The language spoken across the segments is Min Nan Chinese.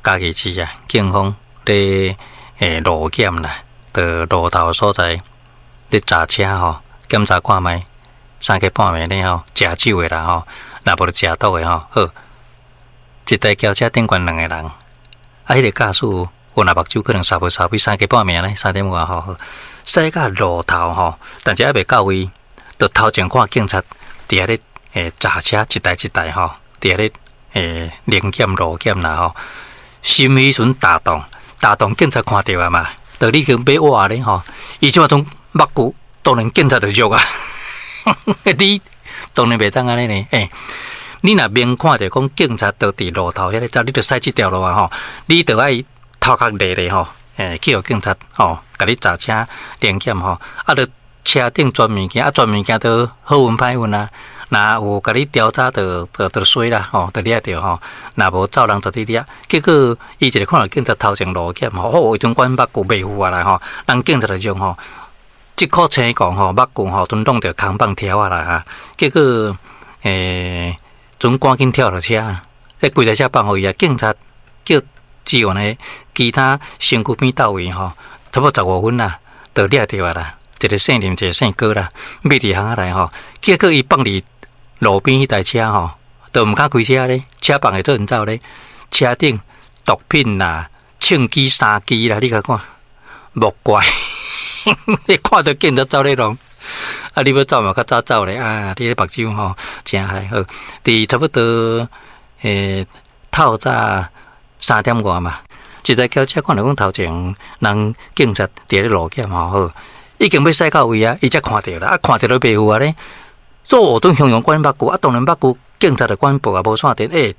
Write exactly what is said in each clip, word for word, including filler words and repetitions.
嘉義市啊，警方咧欸路檢啦，佇路頭所在咧查車吼，檢查看覓，三更半暝咧吼，食酒的啦吼，若無就食毒的吼，好，一台轎車頂懸兩個人，啊，彼個駕駛有若目睭可能捎無捎去三更半暝呢，三點外吼，駛到路頭吼，但是猶未到位，就頭前看警察佇遐咧欸查車，一台一台吼，佇遐咧欸臨檢路檢啦吼，心彼陣大動，大動警察看著啊嘛，就已經欲倚咧吼，伊這馬陣目睭當然警察就弱啊，你當然袂當按呢呢，欸，你若明看著講警察都佇路頭遐咧走，你著駛這條路啊吼，你著愛頭殼立咧吼，欸，去予警察吼，共你查車臨檢吼，啊，著車頂全物件，啊，全物件都好運歹運啊。若有共你調查，就就就衰啦吼，就掠著吼。若無走人就佇掠。結果伊一个看著警察頭前路檢吼，吼，伊陣管目睭袂赴啊啦吼，人警察就用吼，這箍青光吼，目睭吼，陣弄著空棒條仔啦哈。結果欸，陣趕緊跳落車，彼規台車放予伊啊。警察叫支援的其他身軀邊到位吼，差不多十五分啦，就掠著啊啦。一个姓林，一个姓郭啦，覕佇巷仔內吼，結果伊放佇路邊彼台車吼，都毋敢開車咧，車放會做陣走咧，車頂毒品啦、槍支三支啦，你共看，莫怪，你看著警察走咧弄，啊，你欲走嘛較早走咧啊！你彼目睭吼誠害好，佇差不多欸透早三點外嘛，一台轎車看著講頭前人警察佇咧路檢吼好，已經欲駛到位啊，伊才看著啦，啊，看著都袂赴啊咧。做陣雄雄管目睭，啊，當然目睭警察就管報啊，無線電，欸，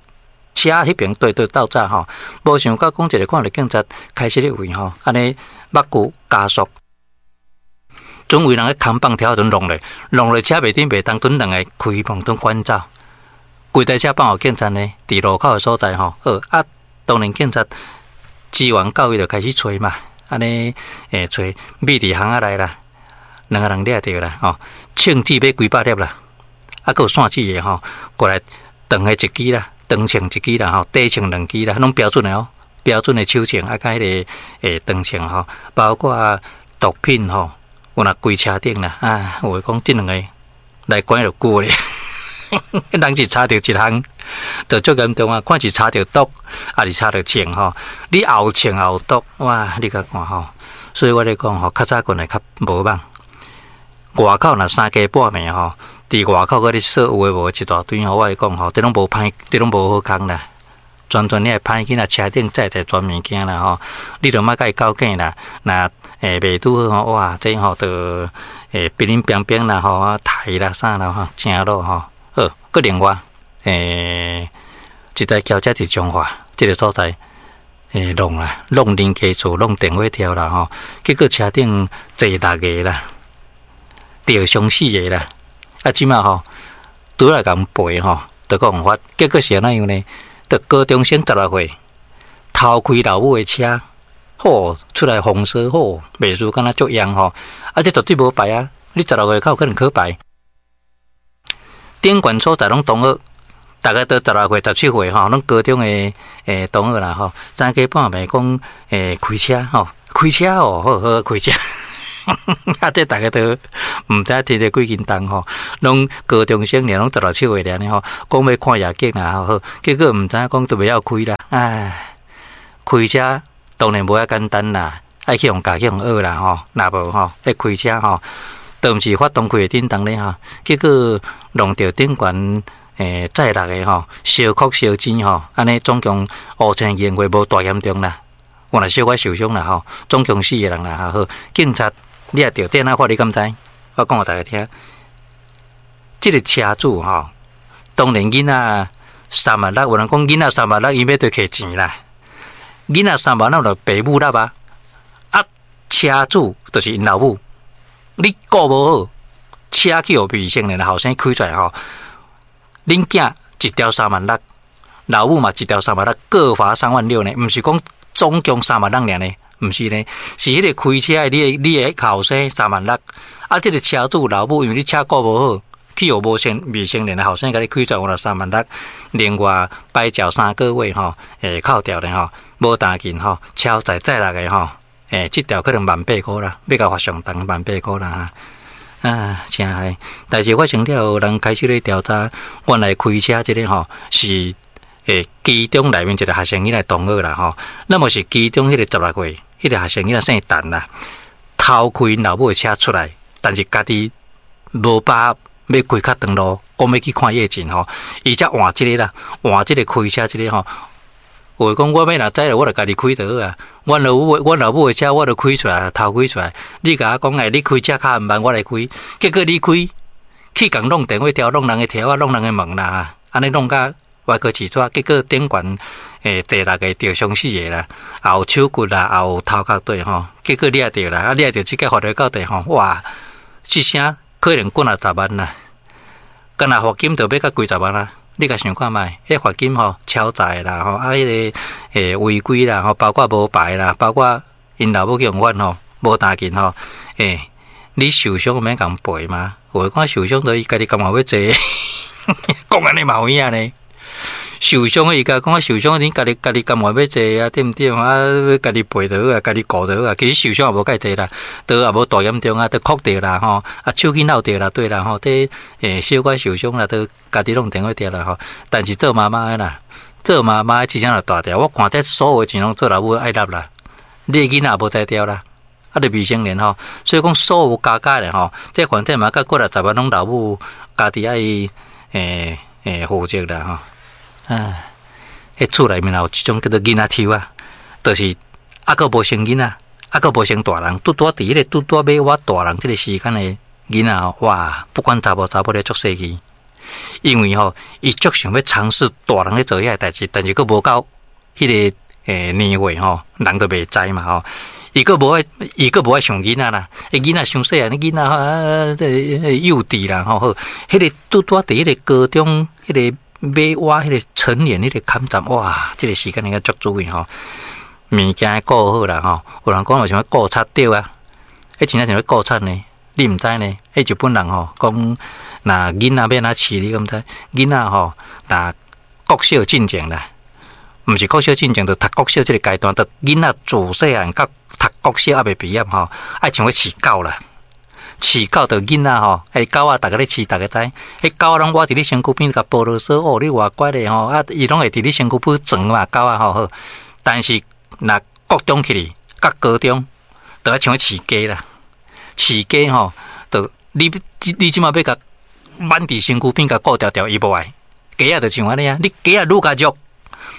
車彼爿對對鬥早吼，無想到講一个看著警察開始咧位吼，按呢目睭加速，準為人咧扛棒條陣弄咧，弄咧車袂振袂動，陣兩个開門陣趕走，規台車放予警察呢，佇路口的所在吼，好啊，當然警察支援到位就開始揣嘛，按呢欸揣覕佇巷仔內啦。兩个人掠著啦，吼，槍支欲幾百粒啦，啊，閣有線子的吼，過來長的一支啦，長槍一支啦，吼，短槍兩支啦，攏標準的哦，標準的手槍啊，佮彼个欸長槍吼，包括毒品吼，有若規車頂啦，啊，有的講這兩个來關就久咧，人是查著一項，就足嚴重啊，看是查著毒，抑是查著槍吼，你後槍後毒，哇，你共看吼，所以我咧講吼，較早棍會較無蠓。外口若三更半暝吼，佇外口閣咧說有的無的一大堆吼，我會講吼，這攏無歹，這攏無好康啦。全全你的歹囡仔車頂載載全物件啦吼，你著莫共伊較緊啦。若欸袂拄好吼，哇，這吼就欸乒乒乓乓啦吼，啊刣啦啥啦吼，誠老吼。好，閣另外欸，一台轎車佇彰化這个所在欸弄啦，弄恁家厝，弄電火柱啦吼，結果車頂坐六个啦。著傷死的啦！啊，這馬吼拄來共賠吼，就講法，結果是按怎樣呢？就高中生十六歲偷開老母的車，吼出來放肆，吼袂輸敢若足煳吼！啊，這絕對無牌啊！你十六歲較有可能考牌？頂懸所在攏同學，逐家都十六歲、十七歲吼，攏高中的欸同學啦吼。三更半暝講欸開車吼，開車哦，好好開車。啊！這逐家都毋知提著幾斤重吼，攏高中生爾，攏十六七歲爾呢吼，講欲看夜景啊，好，結果毋知影講都袂曉開啦。唉，開車當然無遐簡單啦，愛去予教去予學啦吼，若無吼，彼開車吼，都毋是發動開會振動咧吼，結果弄著頂懸欸載六个吼，相哭相錢吼，按呢總共烏青驗過無大嚴重啦，有若小可受傷啦吼，總共四个人啦吼，好，警察。掠著這按怎法你敢知？我講予大家聽。這个車主吼，當然囡仔三萬六，有人講囡仔三萬六，伊欲對摕錢啦。囡仔三萬六就爸母納啊。啊，車主就是𪜶老母，你顧無好，車去予未成年後生開出來吼，恁囝一條三萬六，老母嘛一條三萬六，各罰三萬六呢？毋是講總共三萬六爾呢？毋是呢，是彼个開車的你的你的後生三萬六，啊，這个車主老母因為你車顧無好，去予無成未成年的後生共你開出來五十三萬六，另外牌照三個月吼，會扣掉咧吼，無彈琴吼，超載載六个吼，欸，這條可能萬八箍啦，欲共罰上重萬八箍啦。啊，真害！代誌發生了後，人開始咧調查，原來開車這个吼是欸，其中內面一個學生囡仔同學啦吼，那麼是其中彼個十六歲彼個學生囡仔姓陳啦，偷開𪜶老母的車出來，但是家己無把握欲開較長路，講欲去看夜景吼，伊才換這个啦，換這個開車這個吼。有的講我欲若知，我就家己開就好啊。阮老母，阮老母的車，我就開出來，偷開出來。你共我講，欸，你開車較慢，我來開。結果你開，去共弄電話柱，弄人的柱仔，弄人的門啦，按呢弄甲歪哥起抓。結果頂懸欸，坐六个著傷死的啦，也有手骨啦，也有頭殼對吼。結果掠著啦，啊掠著這個罰落到底吼，哇！這聲可能幾若十萬啦，干焦罰金就欲甲幾十萬啦。你共想看覓？彼罰金吼超載啦吼，啊彼个欸違規啦吼，包括無牌啦，包括𪜶老母去予阮吼無彈琴吼，欸，你受傷免共賠嗎？有的講受傷，就伊家己甘願欲坐，講按呢嘛有影呢？受傷伊共講受傷，你家己家己甘願欲坐啊，對毋對？啊，家己賠就好啊，家己顧就好啊。其實受傷也無介濟啦，都也無大嚴重啊，都哭著啦吼，啊手去扭著啦，對啦吼，這欸小可受傷啦，都家己弄電話著啦吼。但是做媽媽的啦，做媽媽的這聲就大條。我看這所有的錢攏做老母愛納啦，你的囡仔也無才調啦，啊，就未成年吼，所以講所有加加的吼，這反正嘛，甲過來十萬攏老母家己愛欸欸負責啦吼。啊，彼厝內面有一種叫做囡仔抽啊，就是猶閣無成囡仔，猶閣無成大人，拄拄仔佇彼個拄拄仔欲倚大人這個時間的囡仔吼，哇，不管查某查埔咧足細膩，因為吼，伊足想欲嘗試大人咧做遐个代誌，但是閣無到彼个欸年歲吼，人都袂知嘛吼。伊閣無愛，伊閣無愛像囡仔啦，伊囡仔傷細漢，囡仔啊，這個幼稚啦吼。好，彼個拄拄仔佇彼個高中，彼個欲倚彼個成年彼個坎站，哇！這個時間應該足注意吼，物件顧好啦吼。有人講話想欲顧賊對啊，彼真正像欲顧賊呢，你毋知呢？彼日本人吼講，若囡仔欲按怎飼，你敢知？囡仔吼，若國小進前啦，毋是國小進前，就讀國小這個階段，就囡仔自細漢到讀國小猶未畢業吼，愛像欲飼狗啦。飼狗就囡仔吼，欸狗仔逐家咧飼，逐家知。彼狗仔攏倚佇你身軀邊共哺囉嗦，哦，你偌乖咧吼，啊，伊攏會佇你身軀邊轉嘛，狗仔吼好。但是若國中起去，佮高中，就愛像欲飼雞啦。飼雞吼，就你你這馬欲共挽佇身軀邊共顧牢牢，伊無愛。雞仔就像按呢啊，你雞仔愈共虐，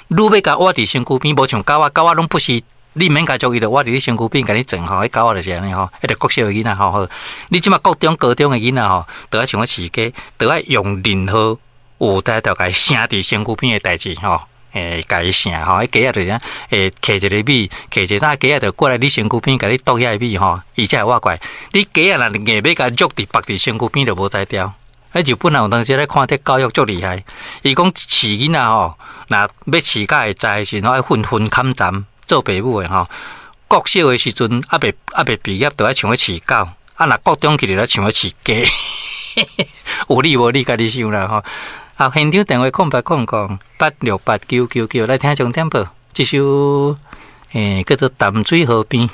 愈欲共倚佇身軀邊，無像狗仔，狗仔攏不是。你毋免共捉，伊就倚佇你身軀邊共你轉吼，彼狗仔就是按呢吼，彼個國小的囡仔吼好。你這馬國中、高中的囡仔吼，就愛像欲飼雞，就愛用任何有才調共伊瀉佇身軀邊的代誌吼，欸，共伊瀉吼，彼雞仔就是按，會揢一个米，揢一个，雞仔就過來你身軀邊共你啄遐个米吼，伊才會倚過來。你雞仔若硬欲共虐佇縛佇身軀邊，就無才調。彼日本人有當時咧看這教育足厲害，伊講飼囡仔吼，若欲飼甲會知的時陣，愛訓分坎站。做爸母的吼，國小的時陣猶未猶未畢業，就愛像欲飼狗；啊，若國中去就愛像欲飼雞。有理無理，家己想啦吼。啊，現場電話空八空空八六八九九九，來聽重點報，這首欸叫做《淡水河邊》。